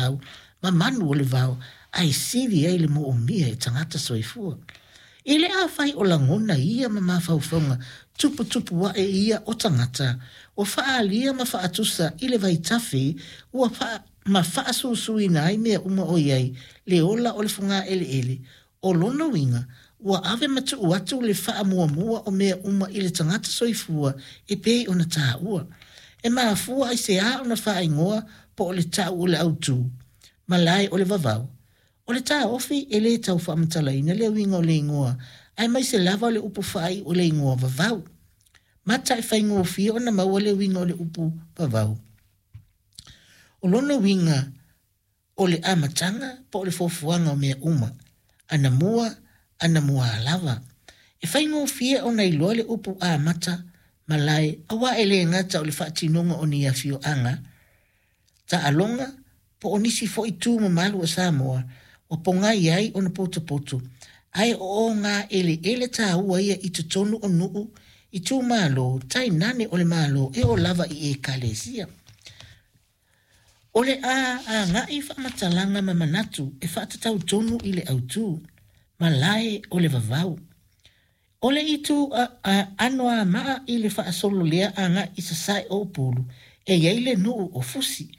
laau ma manu o le vao ae sili ai le moomia e tagata soifua. I le afai o lagona ia ma mafaufauga tuputupu ae ia o tagata, ua faaalia ma faatusa i le vaitafe ua faa ma faasusuina ai mea uma o i ai le ola o le fogaeleele, o lona uiga, ua ave ma tuu atu le faamuamua o mea uma i le tagata soifua e pei ona taua. E mafua i se a ona faaigoa po o le tau o le autū, malae o le vavau. O le taofi e lē tau faamatalaina le uiga o le igoa aemaise lava o le upu faaiu o le igoa vavau. Mata e faigofie ona maua le uiga o le upu vavau. O lona uiga o le amataga po o le fuafuaga o mea uma, anamua, anamuā lava. E faigofie ona iloa le upu amata malae auā e lē gata o le faatinoga o ni afioaga, taaloga po o nisi foi tu mamalu o Samoa ua pogai ai ona potopoto, ae o ogaeleele taua ia i totonu o nuu, itumalo, tainane o le Malo e oo lava i Ekalesia. O le a agai faamatalaga ma manatu e faatatau tonu i le autū, malae o le vavau. O le itu Anoamaa i le faasolo lea agai i sasae o Upolu, e i ai le nuu o Fusi.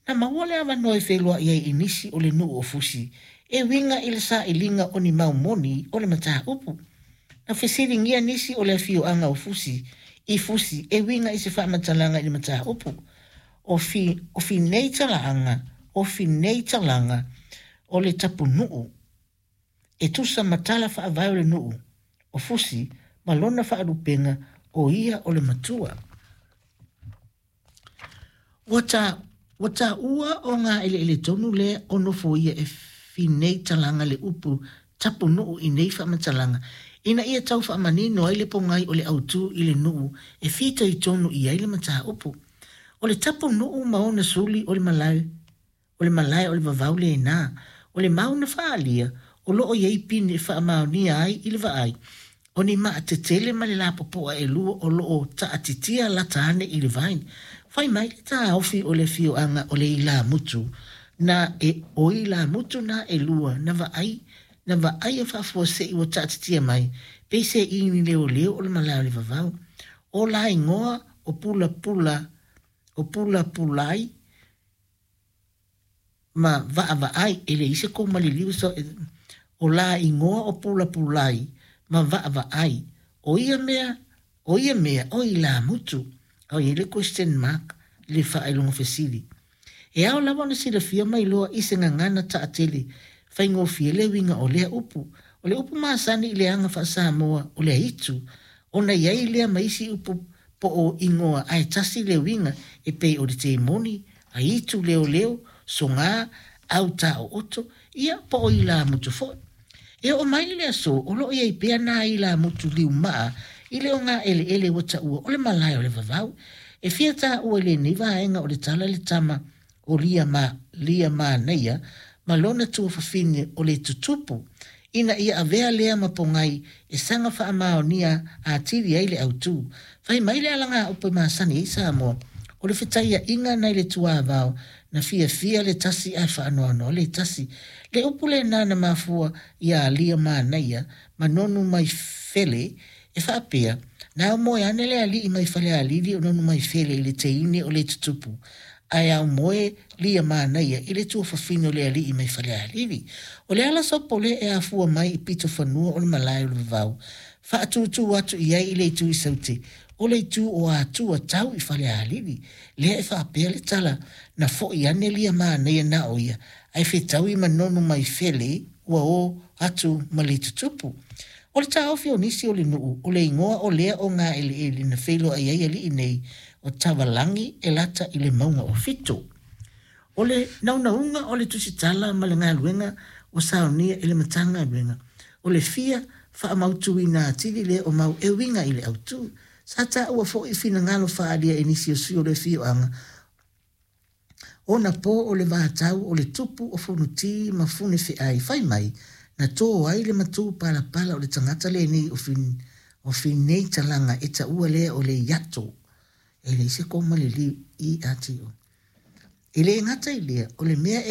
Na maua le avanoa e feiloai ai i nisi o le nuu o Fusi e uiga i le sailiga o ni mau moni o le mataupu. Na fesiligia nisi o le afioaga o Fusi i Fusi e uiga i se faamatalaga i le mataupu. O fi, o Finei Talaaga, o Finei Talaga, o le tapunuu e tusa ma tala faavae o le nuu o Fusi ma lona faalupega o ia o le matua. Ua ta, ua taua o gaeleele tonu lea o nofoia e Finei Talaga le upu tapunuu i nei faamatalaga ina ia tau faamanino ai le pogai o le autū i le nuu e fitoitonu i ai le mataupu. O le tapunuu ma ona suli o le malae O le malae o le vavau lena. O le mau na faaalia, o lo o i ai pine e faamaonia ai i le vaai, o ni maa tetele ma le lapopoa e lua o lo o taatitia lata ane i le vai. Fai mai le taofi o le afioaga o le ilamutu na e o ilamutu na e lua na vaai na vaaia faafuasei ua taatitia mai, pei se i ni leoleo o le malae o le vavau. O la igoa o Pulapula o Pulapulai ma Vaavaai, e leai se koma liliu so o la igoa o Pulapulai ma Vaavaai. O ia mea, o ia mea, o ilamutu. A i ai le question mark, le faailoga fesili. E ao lava ona silafia ma iloa i se gagana taatele faigofie le uiga o lea upu. O le upu masani i le aga faa-Samoa o le aitu, ona i ai lea ma isi upu po o igoa ae tasi le uiga e pei o le temoni, aitu leoleo, sogā, au taooto, ia po o ilamutu foi. E oo mai i le aso o lo o i ai pea nā ilamutu liumaa i le ogaeleele ua taua o le malae o le vavau. E fia taua i lenei vaega o le tala le tama o Lia ma Lia Manaia ma lona tuafafine o le tutupu, ina ia avea lea ma pogai e saga faamaonia atili ai le autū. Fai mai le alagaupu e masani ai Samoa, o le fetaiaiga nai le tuavao na fiafia le tasi ae faanoanoa le tasi. Le upu lena na mafua iā Lia Manaia ma Nonu-mai-fele e faapea, na aumoe ane le alii mai Falealili o Nonu-mai-fele i le teine o le tutupu, ae aumoe Lia Manaia i le tuafafine o le alii mai Falealili. O le ala sopo lea e afua mai i pitofanua o le malae o le vavau, faatūtū atu i ai i le itu i Saute, o le itu o Atua tau i Falealili. Lea e faapea le tala, na foi ane Lia Manaia na o ia, ae fetaui ma Nonu-mai-fele ua o atu ma le tutupu. O le taofi o nisi o le nuu, o le igoa o lea o gaeleele na feiloai ai alii nei o Tavalagi e lata i le mauga o Fito. O le naunauga o le tusitala ma le galuega ua saunia e le Matagaluega, o le fia faamautuina atili lea o mau e uiga i le autū. Sa taua foi i finagalo faaalia e nisi o sui o le afioaga ona po o le vatau o le tupu o Fonoti ma Funefeai fai mai na tō ai le matū palapala o le tagata lenei o o Finei Talaga e taua lea o le Iato. E leai se koma le liu, I-A-T-O. E le gata i lea, o le mea e.